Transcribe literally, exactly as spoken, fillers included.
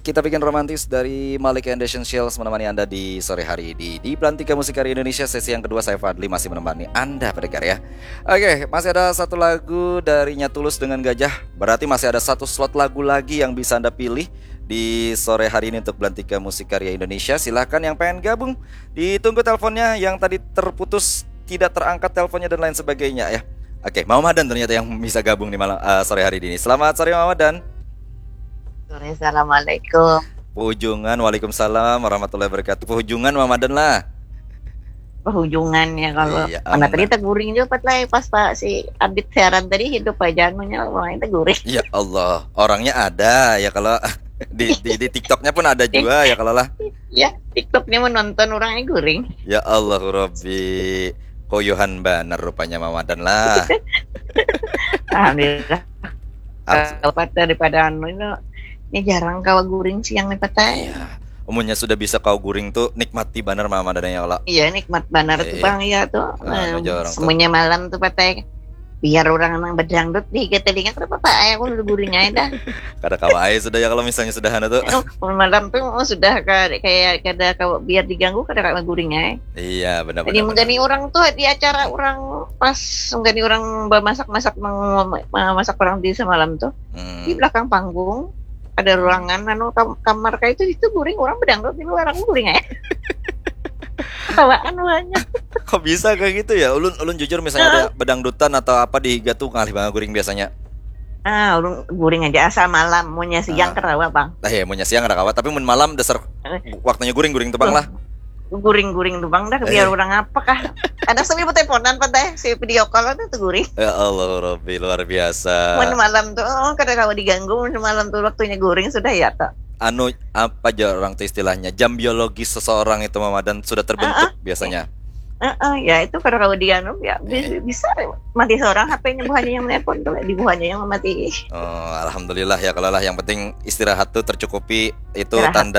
Kita bikin romantis dari Malik and Essentials menemani Anda di sore hari ini. Di Belantika Musik Karya Indonesia sesi yang kedua, saya Fadli masih menemani Anda, pendengar, ya. Oke, masih ada satu lagu dari Nyatulus dengan Gajah. Berarti masih ada satu slot lagu lagi yang bisa Anda pilih di sore hari ini untuk Belantika Musik Karya Indonesia. Silahkan yang pengen gabung, ditunggu teleponnya yang tadi terputus, tidak terangkat teleponnya dan lain sebagainya, ya. Oke, Mama Madan ternyata yang bisa gabung di malam, eh, sore hari ini. Selamat sore, Mama Madan. Sore, assalamualaikum. Pahujungan, waalaikumsalam warahmatullahi wabarakatuh. Pahujungan, Mama Madan lah. Pahujungan ya kalau. Iya, Mana aman. Tadi teguring juga, Pat, lah, pas Pak si Abid siaran tadi, hidup aja anunya, orangnya teguring. Ya Allah, orangnya ada ya kalau di, di, di TikToknya pun ada juga ya kalau lah. Ya, TikToknya menonton orangnya guring. Ya Allah Rabbi, koyuhan banar rupanya Mama Madan lah. Alhamdulillah. Al- Kalau Pat daripada anu ini, ini jarang kawa guring siang nih, Pat, ai. Iya. Umumnya sudah bisa kau guring tuh, nikmati banar Mama Madan ya Allah. Iya, nikmat banar tuh, Iya. Bang, ya tuh. Anu Em, aja orang tuh. Semuanya malam tuh, Pat, ai. Biar orang nang bedangdut di higa telinga, kada apa-apa, ai, aku udah guring aja dah. Kada kawa ai sudah ya kalau misalnya sudah anu tuh. Malam tuh, oh, sudah ka-, kayak kada kawa, biar diganggu kada kawa guring ai. Iya, benar. Jadi benar, menggani benar. Orang tuh di acara orang pas menggani orang memasak-masak, meng-, memasak orang di semalam tuh. Hmm. Di belakang panggung ada ruangan anu kam-, kamar kayak itu, itu guring, orang bedangdut di luar, aku guring ai. Ketawaan banyak. Kok bisa kayak gitu ya? Ulun, ulun jujur misalnya ada bedangdutan atau apa di higa tuh, ngalih banget guring biasanya. Ah, ulun guring aja asal malam, munnya siang Ah. Karawa, Bang. Lah ya, munnya siang ada kawa, tapi mun malam dasar Eh. Waktunya guring-guring tuh, Bang, lah. Guring-guring tuh, Bang, dah, biar Eh. Orang apa kah? Ada sami teleponan, Pat, ai, si video call tuh, tuh guring. Ya Allah Rabbi, luar biasa. Mun malam tuh, oh, kada kawa diganggu, mun malam tuh waktunya guring sudah ya tuh. Anu, apa aja orang tuh istilahnya, jam biologis seseorang itu, Mama Madan, sudah terbentuk biasanya. Heeh, ya itu kada kawa dianu ya, bi- Eh. Bisa mati seorang, H P-nya buhannya yang menelpon tuh, di buhannya yang mati. Oh, alhamdulillah ya kalau lah, yang penting istirahat tuh tercukupi, itu Istirahat tanda